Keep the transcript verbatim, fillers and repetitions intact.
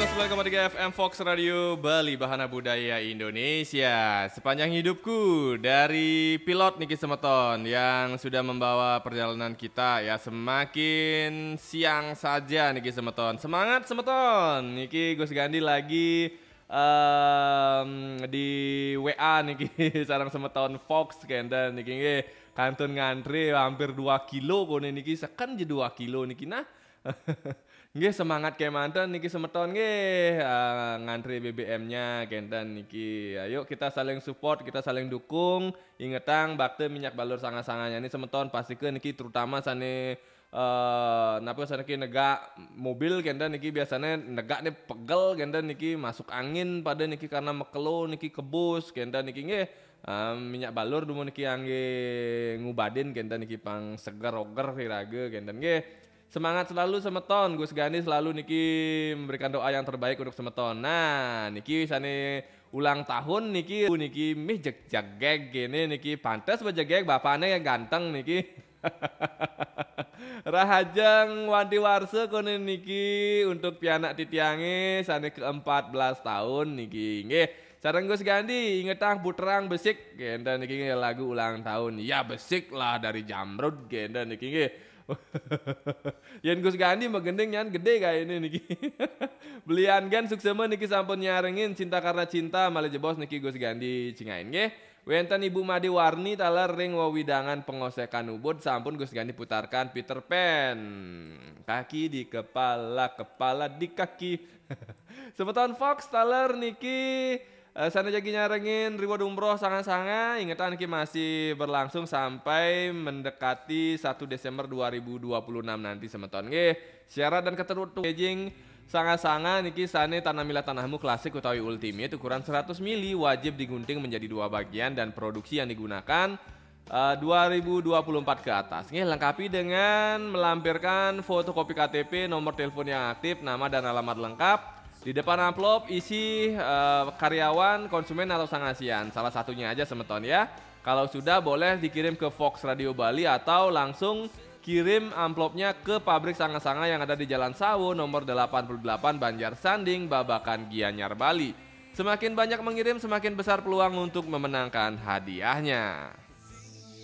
Sembilan koma tiga F M Fox Radio Bali, Bahana Budaya Indonesia. Sepanjang hidupku, dari pilot niki semeton yang sudah membawa perjalanan kita ya semakin siang saja niki semeton. Semangat semeton. Niki Gus Gandhi lagi em, di W A niki sareng semeton Fox kenten niki nggih kantun ngantri hampir dua kilo kone niki seken je dua kilo niki nah. Nggih, semangat kemanten niki semeton nggih, eh, ngantri B B M-nya kenten niki. Ayo kita saling support, kita saling dukung. Ingetang bakte minyak balur sanga-sanganya ini semeton pastike niki terutama sane eh napa sane ki negak mobil kenten niki biasanya negak nih pegel kenten niki masuk angin pada niki karena mekelo niki kebus kenten niki nggih. Eh, minyak balur dumun niki angge ngubadin kenten niki pang seger oger iraga kenten nggih. Semangat selalu semeton, Gus Gandhi selalu niki memberikan doa yang terbaik untuk semeton. Nah, niki sane ulang tahun niki niki mih jeg jegeg kene niki pantes bejegeg bapakne ganteng niki. Rahajeng wanti warsa kone niki untuk pianak titiange sane ke empat belas tahun niki. Nggih, sareng Gus Gandhi ingetang puterang besik kenten niki nggih lagu ulang tahun. Ya besik lah dari Jamrud kenten niki nggih. Yen Gus Gandhi mah gending nyan gede kayak ini niki. Belian gen suksema niki sampun nyarengin cinta karena cinta malih jebos niki Gus Gandhi cingain nggih. Wenten Ibu Made Warni taler ring wewidangan pengosekan Ubud sampun Gus Gandhi putarkan Peter Pan. Kaki di kepala, kepala di kaki. Semeton Fox taler niki eh, sana jagi nyarengin reward umroh sanga-sanga ingetan niki masih berlangsung sampai mendekati satu Desember dua ribu dua puluh enam nanti semeton nggih. Syarat dan ketentuan packaging sanga-sanga niki sane Tanamilah Tanahmu klasik utawi ultimate ukuran seratus mili wajib digunting menjadi dua bagian dan produksi yang digunakan eh, dua ribu dua puluh empat ke atas. Nggih, lengkapi dengan melampirkan fotokopi K T P, nomor telepon yang aktif, nama dan alamat lengkap. Di depan amplop isi eh, karyawan, konsumen atau sangasian. Salah satunya aja semeton ya. Kalau sudah boleh dikirim ke Fox Radio Bali atau langsung kirim amplopnya ke pabrik sanga-sanga yang ada di Jalan Sawo nomor delapan puluh delapan Banjar Sanding, Babakan, Gianyar, Bali. Semakin banyak mengirim, semakin besar peluang untuk memenangkan hadiahnya.